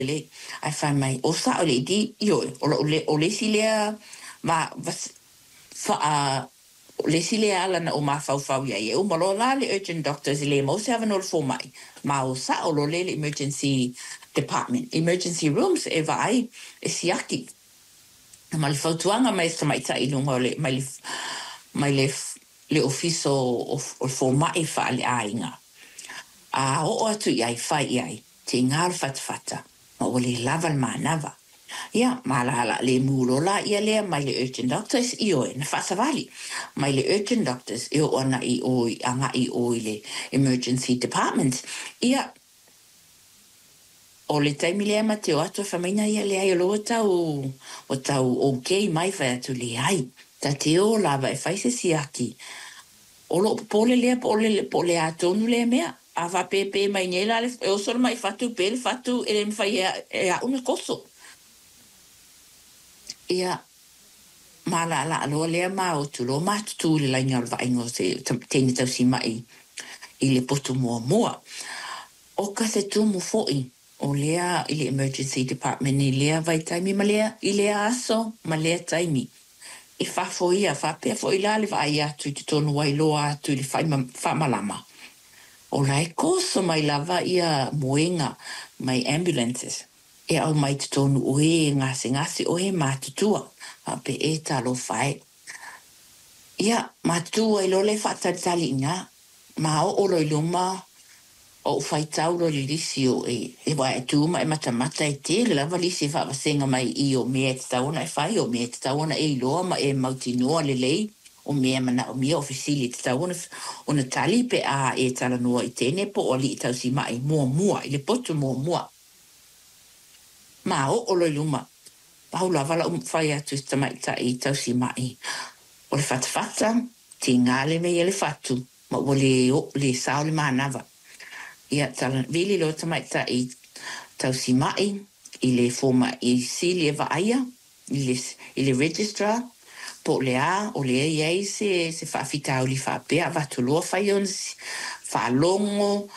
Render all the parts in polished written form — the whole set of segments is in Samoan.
Lelei. Ae fai mai, O sa'o le ED? Ioe, o lo'u le, o le isi lea ma, faa, o le isi lea ala na ou mafaufau i ai, e uma loa la le urgent doctors e le maua se avanoa o le fomai, ma o sa'o loa lea i le emergency department, emergency rooms e vaai, e siaki. Ma le fautuaga mai e se tamaitai i luga o le, mai le, mai le, le ofisa o, o le fomai faaleaiga, a oo atu i ai, fai i ai, tiga o le fatafata, ma ua le lava le manava. Ia, ma la la le mu loa laia lea mai le urgent doctors, ioe, na faasavali mai le urgent doctors e oo ana i o i agai i o i le emergency department. Ia, o le taimi lea ma te o atu e fai mai, ia leai o lea ua tau, ua tau okay mai. Fai atu, leai, ta te o lava e fai se siaki. O loo popole lea po o le a tonu lea mea. A faapepe mai nei la le, e oso le mai fatu pe le fatu e le mawhai e, e au na koso. Ia, ma la la loa lea ma o tu loa ma tutu le laina o le vaaiga o se teine tausima'i i le potu muamua. O ka se tumu fo'i o lea i le emergency department i lea vaitaimi ma lea i lea aso ma lea taimi. E fafo ia faapea fo'i la le vaai atu i totonu ai loa atu i le faamalama. O la e koso mai lava ia moega mai ambulances e aumai totonu o e gasegase o e matutua faapea e talofa e. Ia, matutu ai loa le faatalitali i ina, ma oo loa i luma o ou faitau loa i le lisi o e, e wae e tu ma e matamata e tele lava lisi e faavasega mai i o mea e tatau ona e fai, o mea e tatau ona e iloa ma e mautinoa lelei, o mea manaomia o fesili e tatau ona, ona tali pe a e talanoa i teine po o alii tausima'i muamua, i le potu muamua. Ma oo loa i luma, pau lava la'u fai atu i se tamaitai tausima'i, o le fatafata, tiga le mea ia le fatu, ma ua le, o, le sao le manava. Ia, tala, vili loa tamaitai tausima'i i le foma'i sili e vaaia, i le registrar, po o le a, o lea e i ai se, se faafitauli faapea, avatu loa fai ona faalogo,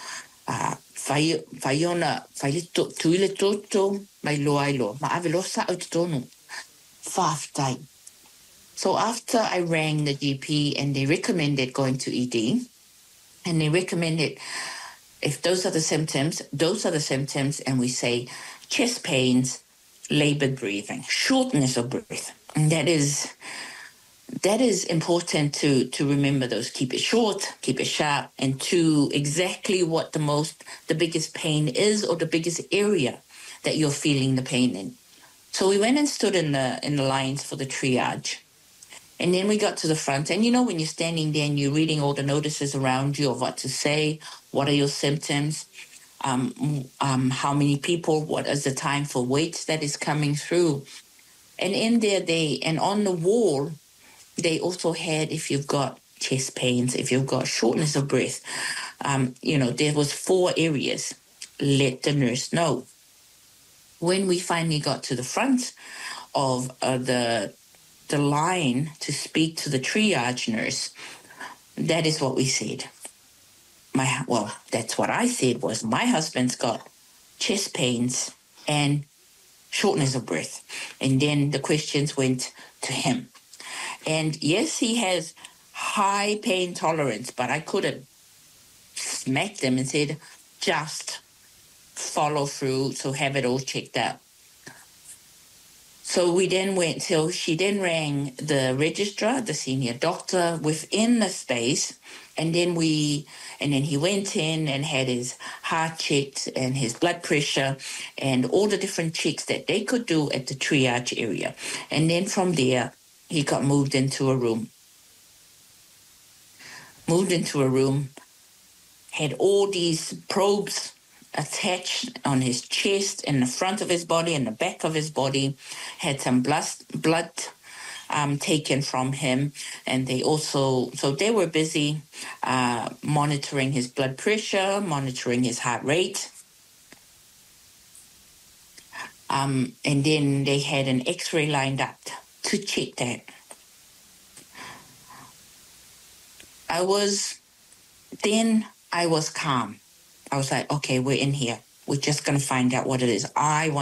a, fai, fai ona, fai le to, tui le toto, mai loa ai loa, ma ave loa sa'o i totonu. Faafetai. So after I rang the GP and they recommended going to ED, and they recommended if those are the symptoms, those are the symptoms, and we say chest pains, labored breathing, shortness of breath. And that is important to remember those. Keep it short, keep it sharp, and to exactly what the biggest pain is or the biggest area that you're feeling the pain in. So we went and stood in the lines for the triage. And then we got to the front, and you know when you're standing there and you're reading all the notices around you of what to say, what are your symptoms, how many people, what is the time for wait that is coming through. And in there, they, and on the wall, they also had if you've got chest pains, if you've got shortness of breath, there was four areas. Let the nurse know. When we finally got to the front of the line to speak to the triage nurse, that is what we said. My well, that's what I said was my husband's got chest pains and shortness of breath. And then the questions went to him. And yes, he has high pain tolerance, but I could have smacked him and said, just follow through, so have it all checked out. So we then went till she then rang the registrar, the senior doctor within the space, and then he went in and had his heart checked and his blood pressure and all the different checks that they could do at the triage area. And then from there he got moved into a room. Moved into a room, had all these probes attached on his chest, in the front of his body, in the back of his body, had some blood taken from him, and they also so they were busy monitoring his blood pressure, monitoring his heart rate. And then they had an X-ray lined up to check that. I was then I was calm. I was like, okay, we're in here. We're just going to find out what it is. I want